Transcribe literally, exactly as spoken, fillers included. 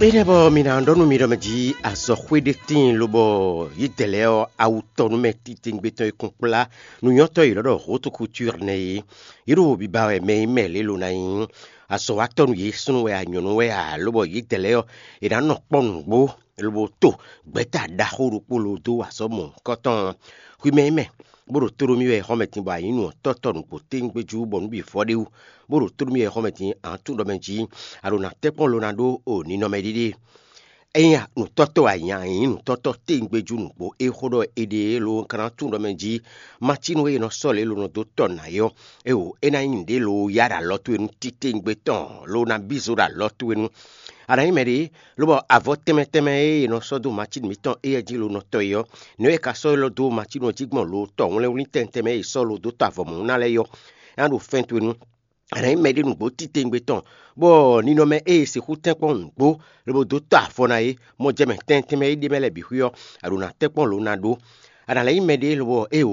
Énɛ́ bɔ mi ná ɖɔ nú mi ɖɔ mɛ jí azɔxwé ɖé tíin lobɔ yědɛɛ lɛ́ɛ ɔ́, awu tɔnúmɛ titewungbe tɔn e kún kplá nǔnyɔ́tɔ́ yěɖɔ́ ɖɔ hǒtokutu nɛ́ é. Yě ɖo biba wɛ mɛ e mɛ lě lo ná nyí azɔ̌watɔ́ nú yě, súnnu wɛ a, nyɔ̌nu wɛ a, lobɔ yědɛɛ lɛ́ɛ ɔ́, è nǎ nɔ kpɔ́ nǔgbó lobo to gbɛ̌ta ɖaxó ɖokpó lo dó wa azɔ̌ mɔ̌hunkɔtɔn ɔ́. Hwi mɛ e mɛ bó ɖo tó ɖó mì wɛ xɔ́mɛ din bɔ a nyǐ nǔ ɔ́ tɔ́tɔ́ nǔgbó téŋgbé jú bɔ nǔ bǐ vɔ ɖ'é wú, bó ɖo tó ɖó mì wɛ xɔ́mɛ din, a nǎ tunwun ɖɔ mɛ jí a ɖo nǎ tɛ́nkpɔ́n lo ná ɖó o ninɔmɛ ɖiɖe. Ényí nǔtɔ́tɔ́ wɛ a nyǐ, a nyǐ nǔtɔ́tɔ́ téŋgbé jú nǔgbó é xó ɖɔ è ɖe é lo, un ka ná tunwun ɖɔ mɛ jí macínu e è nɔ sɔ́ lě lo nɔ dó tɔ nǎ é ɔ́, éwo é ná nyí nǔɖé lo yá ɖo alɔ towe nú titewungbe tɔn lo ná bí zo ɖo alɔ towe nú. A nǎ nyí mɛɖé lobɔ avɔ tɛnmɛ tɛnmɛ e è nɔ sɔ́ dó macínu mǐtɔn éyɛ́ jí lo nɔ tɔ é ɔ́, nɛ̌ wɛ è ka sɔ́ élɔ́ dó macínu ɔ́ jí gbɔn lo tɔ wlɛ́nwlín tɛnmɛ tɛnmɛ e è sɔ́ lo dó tɔ avɔ mɔ̌ ná lɛ́ɛ é ɔ́, é ná ɖo fɛ́n towe nú. A nǎ nyí mɛɖé nǔgbó titewungbe tɔn, bɔ ninɔmɛ e è sixú tɛ́nkpɔ́n nǔgbó lobo dó tɔ avɔ ná é, mɔ jɛ mɛ tɛnmɛ tɛnmɛ e ɖ'é mɛ lɛ́ɛ bǐ xwí ɔ́, a ɖo nǎ tɛ́nkpɔ́n lo ná ɖó. A nǎ lɛ́ nyí mɛɖé lobɔ éwo